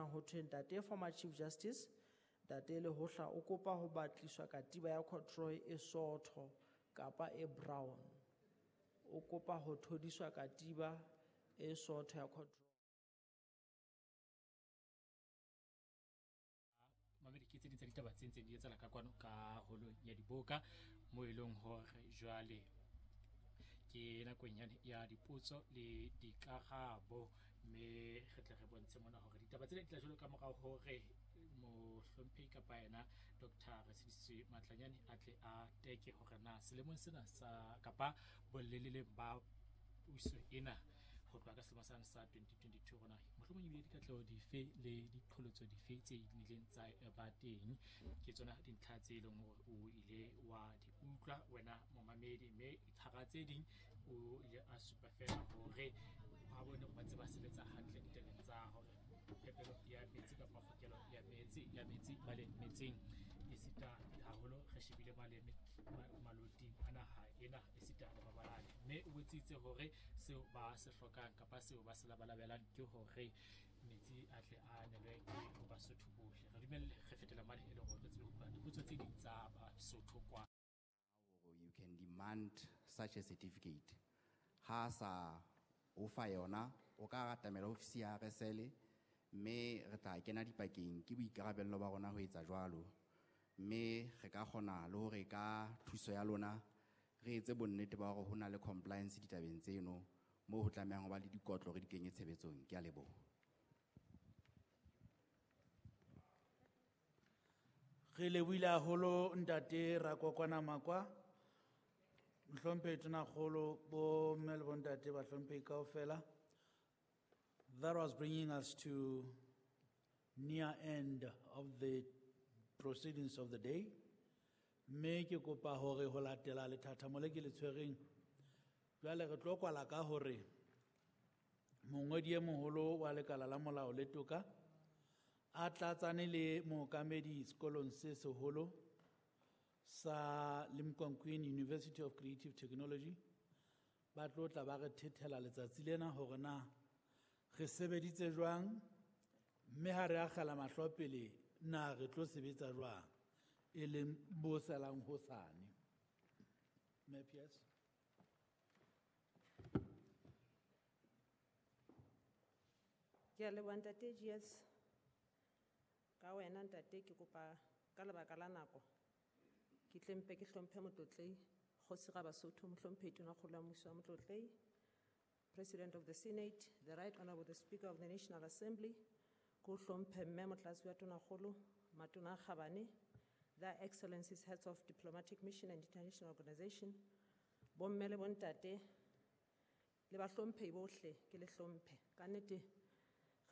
fumanang ho thwe ntate former Chief Justice ntate Lehohla o kopa ho batliswa katiba ya corduroy e sootho kapa e brown. O kopa ho thodiswa katiba e sootho ya corduroy. Mamedi, ke tse ding tsa ditaba tse ntseng di etsahala ka kwano ka holong ya diboka, mo e leng hore jwale ke nakong yane ya dipotso le dikarabo, mme re tle re bontshe mona hore ditaba tsena di tla jwalo ka morao hore mohlomphehi kapa yena Doctor Retshidiswe Matlanyane a tle a teke hore na selemong sena sa kapa boleleleng ba puso ena ho tloha ka selemo sane sa 2022 rona mohlomong ebile dikatleho dife le diqholotso dife tse ileng tsa ba teng. Ke tsona dintlha tse leng hore o ile wa di utlwa wena momamedi, mme hara tse ding o ile a supa fela hore ha bone ba ntse ba sebetsa hantle ditabeng tsa hore phepelo ya metsi kapa kgokelo ya metsi ya metsi male metseng, esita haholo re shebile male maloting a naha ena esita le mabalane, mme o botsitse hore seo ba se hlokang kapa seo ba se labalabelang ke hore metsi a tle a nelwe ke ho Basotho bohle. Re dumelle re fetela mane e le hore re tsebe ho utlwa dipotso tse ding tsa Basotho kwa. You can demand such a certificate. Ha sa o fa yona, o ka atamela ofisi ya RSL, mme re tla kena dipakeng, ke boikarabello ba rona ho etsa jwalo. Mme re ka kgona le hore ka thuso ya lona re etse bonnete ba hore ho na le compliance ditabeng tseno, moo ho tlamehang ho ba le dikotlo re di kenye tshebetsong. Ke a leboha. Re lebohile haholo ntate Rakokwana Makwa, mohlomphehi Tonakgolo, bo mme le bontate bahlomphehi kaofela. That was bringing us to near end of the proceedings of the day. Mme ke kopa hore ho latela lethathamo le ke le tshwereng, jwale re tlo kwala ka hore mongodi e moholo wa lekala la molao le toka a tlatsane le mookamedi sekolong se seholo sa Limkokwing University of Creative Technology ba tlo tla ba re thethela letsatsi lena hore na re sebeditse jwang, mme ha re akgela mahlo pele na re tlo sebetsa jwang, e leng bo salang hosane. Mme Piers. Ke a leboha ntate GS. Ka wena ntate ke kopa ka lebaka la nako ke tle mpe ke hlomphe motlotlehi Kgosi Rabasotho, mohlomphehi Tonakgolo ya Mmuso wa Motlotlehi, President of the Senate, the Right Honorable the Speaker of the National Assembly, ke o hlomphe mme Motlatsi wa Tonakgolo, Matona a Kgabane, Their Excellencies Heads of Diplomatic Mission and International Organization, bomme le bontate, le bahlomphehi bohle ke le hlomphe. Ka nnete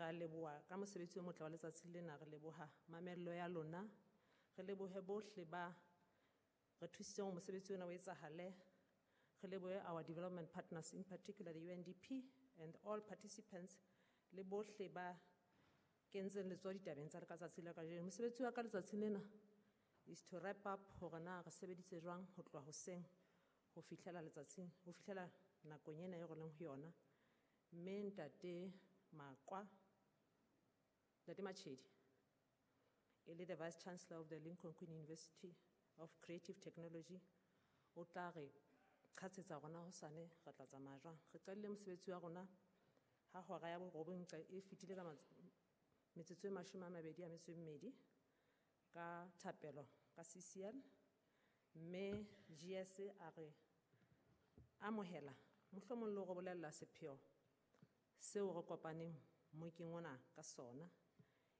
re a leboha ka mosebetsi o motle wa letsatsi lena, re leboha mamello ya lona, re lebohe bohle ba re thusitseng hore mosebetsi ona o etsahale, re lebohe our development partners, in particular the UNDP and all participants, le bohle ba kentseng letsoho ditabeng tsa ka tsatsi la kajeno. Mosebetsi wa ka letsatsi lena is to wrap up hore na re sebeditse jwang ho tloha hoseng ho fihlela letsatsing, ho fihlela nakong ena e re leng ho yona. Mme ntate Makwa, ntate Machedi, e le the Vice Chancellor of the Limkokwing University of Creative Technology, o tla re qhatsetsa rona hosane re tla tsamaya jwang. Re qadile mosebetsi wa rona ha hora ya borobong e fetile ka metsotso e mashome a mabedi a metso e mmedi ka thapelo ka CCL, mme GS a re amohela mohlomong le ho re bolella sepheo seo re kopaneng mokeng ona ka sona.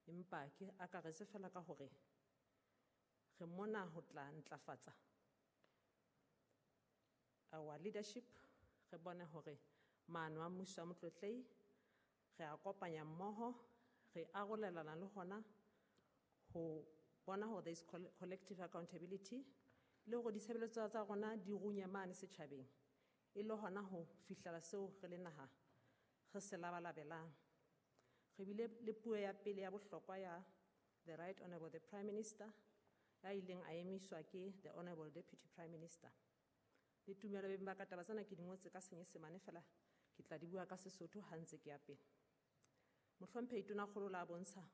Empa ke akaretse fela ka hore re mona ho tla ntlafatsa our leadership, re bone hore maano a mmuso wa motlotlehi re a kopanya mmoho, re arolelana le hona ho bona hore there is collective accountability le hore ditshebeletso tsa rona di runye mane setjhabeng, e le hona ho fihlela seo re le naha re se labalabelang. Re bile le puo ya pele ya bohlokwa ya the Right Honorable the Prime Minister, ya ileng a emiswa ke the Honorable Deputy Prime Minister. Le tumelo beng ba ka, taba tsena ke di ngotse ka Senyesemane fela, ke tla di bua ka Sesotho ha ntse ke ya pele. Mohlomphehi Tonakgolo la bontsha